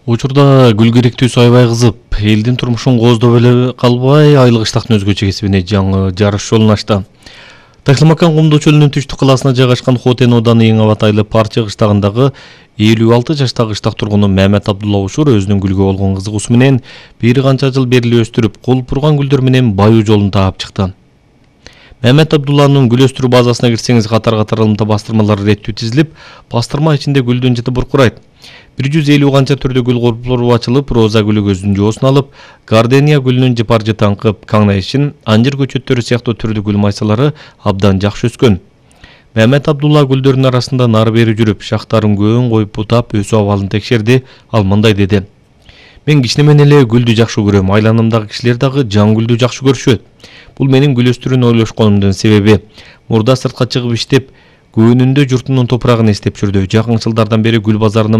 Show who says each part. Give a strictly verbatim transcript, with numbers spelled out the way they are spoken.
Speaker 1: Учурда гүл керектүүсү аябай кызып, элдин турмушун кооздоп эле калбай, айлык иштактын өзгөчө кесибине жаңы жарыш жолун ачты. Ташлымакан Кумдуу чөлүнүн түштүк кылаасына жайгашкан Хотен ооданы Эң Абат айылы Парчы кыштагындагы элүү алты жаштагы кыштак тургуну Мамет Абдулла Ушур өзүнүн гүлгө болгон кызыгуусу менен бир канча жыл бери өстүрүп, кулпурган гүлдөр менен баюу жолун таап чыкты. Мамет Абдулланын гүл өстүрүү базасына кирсеңиз катар-катар ылымта бастырмалар реттүү тизилип, бастырма ичинде гүлдүн жыты буркурайт. бир жүз элүү канча түрдүү гүл корпулары ачылып, роза гүлү көздүн жоосун алып, гардения гүлүнүн жыпар жытаңкы, каңнайшин, анжыр көчөттөрү сыяктуу түрдүү гүл майсалары абдан жакшы өскөн. Мамет Абдулла гүлдөрдүн арасында нары бери жүрүп, шактарын көөн коюп бутап, өсүү абалын текшерди. Ал мындай деди: "Мен кичинемен эле гүлдү жакшы көрөм, айланамдагы кишилер дагы жан гүлдү жакшы көрүшөт. Бул менин гүл өстүрүүнү ойлошконумдун себеби. Мурда сыртка чыгып иштеп, көөнүндө журтунун топурагын эстеп жүрдү. Жакын жылдардан бери гүл базарынын